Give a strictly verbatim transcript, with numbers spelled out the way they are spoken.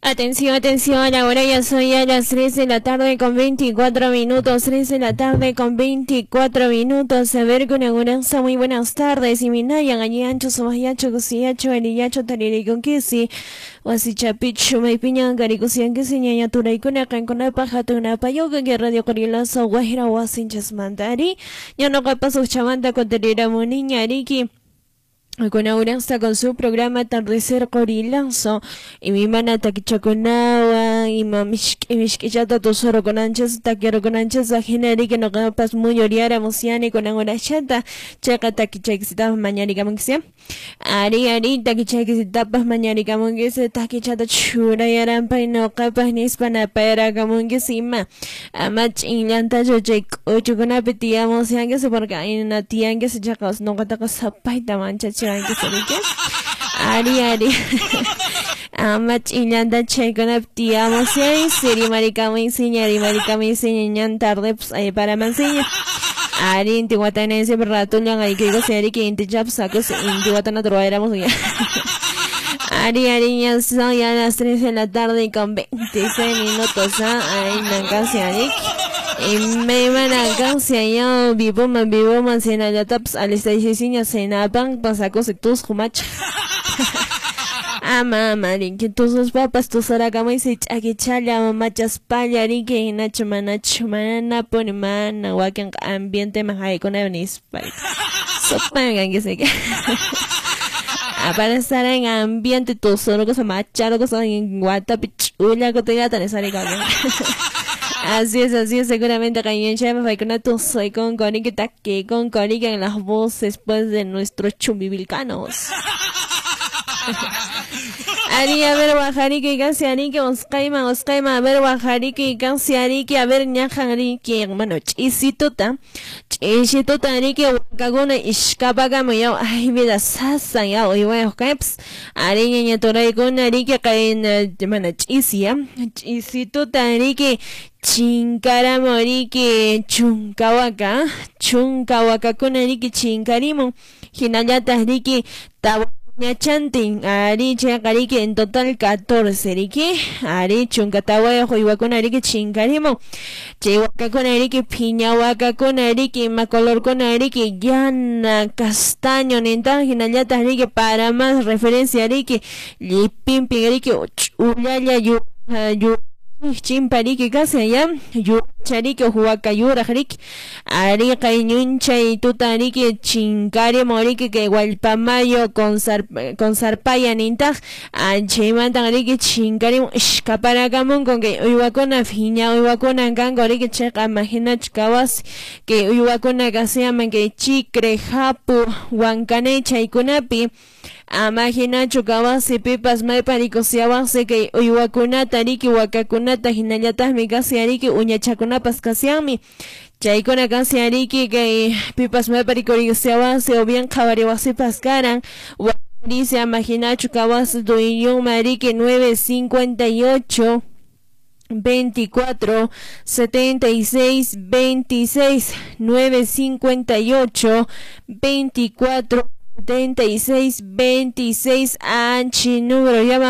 Atención, atención, ahora ya son ya las tres de la tarde con veinticuatro minutos, tres de la tarde con veinticuatro minutos. A ver, con aguranza, muy buenas tardes. Y minayan, allí ancho, somayacho, cusiyacho, aliyacho, tariricunquisi, wasichapichu, maypiñan, caricusianquisi, ñaña, turaicuna, cancuna, pajatuna, payoga, que radio corilazo, guajira, wasinchas mandari. Ya no capazo, chamanta, conteriramuniña, ariki. Con Auranza con su programa Atardecer Qorilazo y mi mana takichakunawa y mamishki mishkichata tosoro con anchas taquiero con anchas ajena que no capas muy oriara musiani con angorachata checa takichaquisitapas mañaricamunquisia ari ari takichaquisitapas mañaricamunquisia takichata churayarampa y no capas nispana paerakamunquisima amach inllanta chay k'uchukunapi tiyamusianquisi porque ayna tiyanquisi chaqas nuqataqa sapayta manchachi. Ari ari amach inllanta chaykunapi tiyamusiay siri marikamunsiña ari marikamunsiña ñan tarde pues ay para mansiña ari intihuatana siempre ratullan ay que digo seri que intichaps sacos intihuatana truaéramos ya. Ari ari ya son ya las tres de la tarde y con veintiséis minutos, ¿ah? Ay nankasi arik y me iban a cansia ya vivo man vivo man cena ya taps al estaisiña cena pan pasacos tus jumacha. Ama ama rinki tus papas tus arakama y se chakichala machas palla rinki nacho manacho mana pone mana wakin ambiente majaikuna nispa sopa que se que para estar en ambiente tus cosa macharo cosa en guatapi chula cotega tan sale. Así es, así es, seguramente soy con que con en las voces pues de nuestros chumbivilcanos. Ari, a ver, guajariki, cansiariki, oscaima, oscaima, a ver, guajariki, cansiariki, a ver, ñajariki, hermano, chisituta, chisituta, ariki, huacaguna, ishkapagamo, ya, ay, vida, sasa, ya, hoy voy a oscaips, ari, ñaña, toraikuna, ariki, kain, hermano, chisia, chisituta, ariki, chinkaramo, ariki, chunkahuaca, chunkahuacakuna, ariki, chinkarimo, hinallata, ariki, tawa. Ñachantin, ari chaqariki en total catorce riki, ari chunkatawayuq uywakuna riki chinkarimo, chay wakakuna riki phiña wakakuna riki ima colorkuna riki yana castaño nintaj hinallataq riki para más referencia riki llipinpin riki ch'ullalla yu yu chimpariki kasi ya yuchariki huacayuraq riki ari qayñunchay tuta riki chinkarimo riki kay wallpamayo con zarpaya nintaq chaymantan riki chinkarimo ishkaparakamunku kay uywakuna phiña uywakuna kanku riki chayqa imaginachu kawasi kay uywakuna kasiyaman kay chicre japu wankanay chaykunapi amaginachu kawasi pipas maypa rikusiawaqsi kay uywakunata riki wakakunata hinallataqmi kasi ariki uñachakunapas kasianmi chaykuna kasi ariki kay pipas maypa rikurisiawaqsi o bien qhawariwaqsipas karan dice amaginachu kawasi dueñonma riki nueve cincuenta y ocho veinticuatro setenta y seis veintiséis nueve cincuenta y ocho veinticuatro setenta y seis veintiséis anchi número llama.